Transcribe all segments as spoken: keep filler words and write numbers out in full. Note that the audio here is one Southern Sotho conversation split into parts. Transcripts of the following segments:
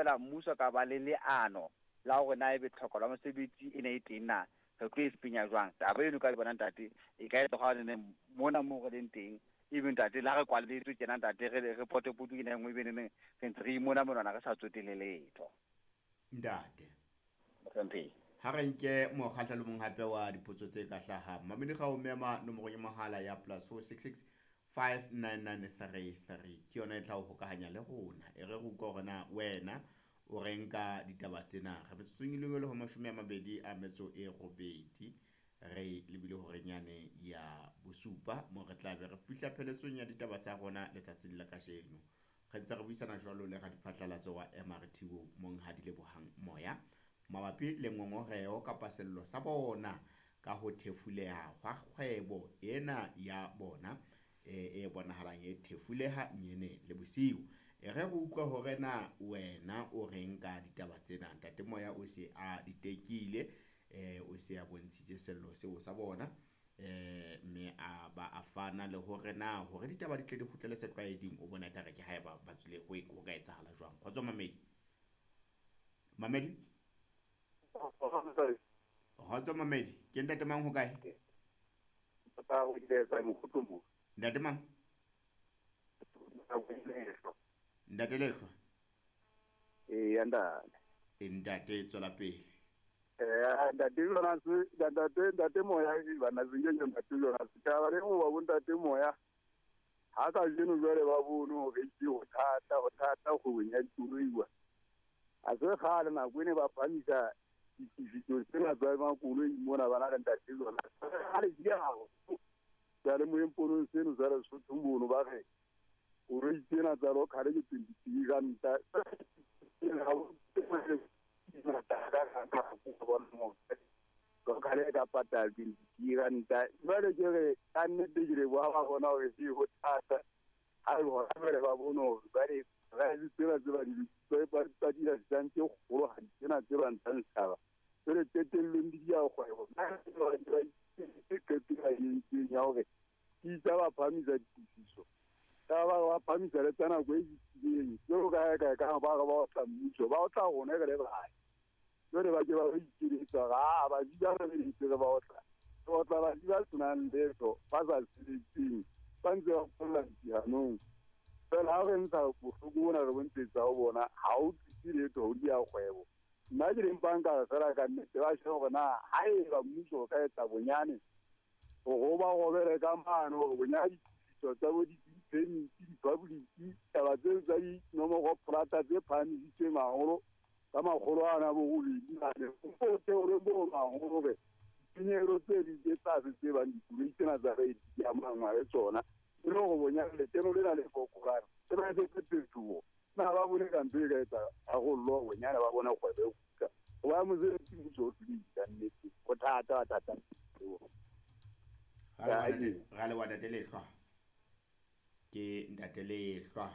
fela mmuso ka ba le leano la hore na ebe tlhoko la mosebetsi e ne e teng na re tlo e fenya jwang. Taba eno ka bona ntate e ka etsa hore ne mona mo re leng teng ebe ntate la re kwaletswe tjena ntate re re potopoto ke nngwe ebe ne re ntse re imona monwana re sa tsotele letho. Ntate Mohlomphehi, ha re nke mokgahlelo mong hape wa dipotso tse ka hlahang. Mamedi ga o mema nomoro ya mohala ya plus four six six five nine nine three three ke yona e tla o hokahanya le rona. E re re utlwa hore na wena o reng ka ditaba tsena. Re metsotsong e le ho mashome a mabedi a metso e robedi re lebile horeng yane ya bosupa mo re tla be re fihla pheletsong ya ditaba tsa rona letsatsing la kajeno. Re ntse re buisana jwalo le radiphatlalatso wa M R T O Monghadi Lebohang Moya mabapi le ngongoreho kapa sello sa bona ka ho thefuleha hwa kgwebo ena ya bona e, e bonahalang e thefuleha nyene le bosiu. E re re utlwe hore na wena o reng ka ditaba tsena. Ntate Moya o se a di tekile, eh, o se a bontshitse sello seo sa bona, eh, mme a ba a fana le hore na hore ditaba di tle di kgutlele setlwaeding o bona ekare ke haeba ba tswile ho e, ho ka etsahala jwang. Kgotso Mamedi. Mamedi? Kgotso Mamedi, ke ntate mang ho kae? Ntate mang? Ntate Lehlwa. Eh, ntate. Ntate, tswela pele. Eh, ntate Jonas, ntate, ntate Moya, bana se ntate Jonas. Ka re o ba bo ntate Moya. Ha ka jeno jwale ba bone hore ke ho thata, ho thata kgwebong ya dikoloi. A se kgale nako ene ba phamisa ditifiso tsena tsa makoloi mona bana le ntate Jonas. Ha le di ha. Jwale moemponong seno sa Lesotho mono ba re koloi tsena tsa local ke twenty-three ranta. Local e ka patala twenty-three ranta. Jwale ke re ka nnete ke re ba ba bona hore ke ho thata. Ha e hona jwale ba bone hore ba re rice tsena tse ba di ba ba di tse kgolo tsena tse ba ntshang setjhaba. Jwale qetellong di dia kgwebo. Ke qeto e entsweng ya hore ke itse ba phamisa ditifiso. Ka ba ba phamisa le tsa nako e fetileng. Jwalo ka ka ka ba ba otla mmuso, ba otla rona re le bae. Jwale ba ke ba ikeletsa ha ba di ba re ntse ba otla. Ba otla ba di ba senang letho, ba sa sebetseng, ba ntse ba qolla dihanong. Fela ha re ntsha bohloko bona re bontshetsa ho bona ha o tlise letho ho dia kgwebo. Nna ke leng banka fela ka nnete ba shebe hore na haeba mmuso o ka etsa bonyane hore ba robele ka mano hore bonyane ditifiso tsa bo di-permit, di-public, taba tseo tsa dinomoro polata tse phahamisitsweng haholo ka makgolo ana bo robedi mane. O theole mono haholo hore ditshenyehelo tse ding tse tlase tse bang dikoloi tsena tsa re di amanngwa le tsona e le hore bonyane lekeno lena le fokolang e ba etse phetoho. Na ba bone ka ntho e ka etsa tharollo bonyane ba bone kgwebo e kgutla. Hoba mosebetsi mmuso o hlolehile ka nnete. Ho thata, thata. Ra leboha ntate Lehlwa. Ke ntate Lehlwa.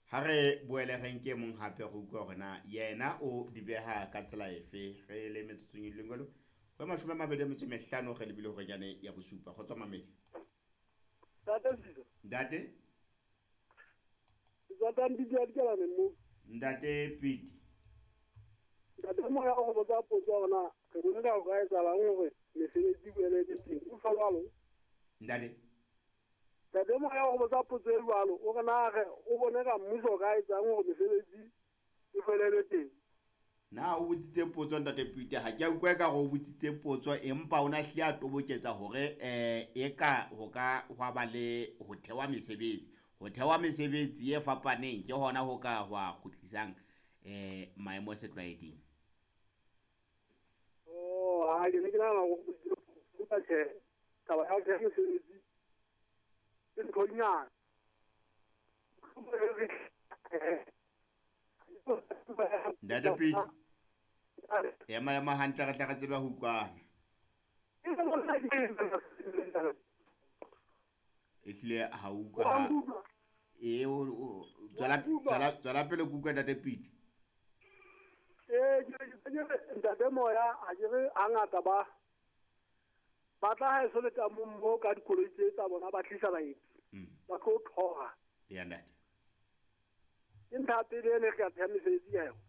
Ha re boele re nke mong hape re utlwe hore na yena o di beha ka tsela efe. Re le metsotsong e leng jwalo ho mashome a mabedi a metso e mehlano re lebile hore yane ya bosupa. Kgotso Mamedi. Ntate Sizo. Ntate. Ntate Piti. Ntate Moya o go botsa potso hore na re bone ka ho ka etsahalang hore mesebetsi e boele e teng. O fa jwalo? Ntate. Ntate Moya o go botsa potso e jwalo, o re na re o bone ka mmuso o ka etsang hore mesebetsi e boele teng. Na o botsitse potso ntate Piti, ha ke a utlwa ka hore o botsitse potso empa o na hlile a toboketsa hore eh e ka ho ka hwa ba le ho thewa mesebetsi. Ho thewa mesebetsi e fapaneng ke hona ho ka hwa kgutlisang eh maemo setlwaeding. Oh, ha ke ne ke nahana hore o botsitse tjhe, taba ya ho theha mesebetsi ke nthonyana. Ntate Piti, ema ema hantle re tle re tsebe ho utlwana. Ehlile ha utlwa ha e o tswela tswela tswela pele ke utlwa ntate Piti. Eh, ke ke ntate Moya a ke re hangata ba ba tla ha eso le ka mo ka dikoloi tse tsa bona ba tlisa baeti. Ba tlo thoha. Ya ntate. Ke ntho ya pele e ne re ka theha mesebetsi ya yona.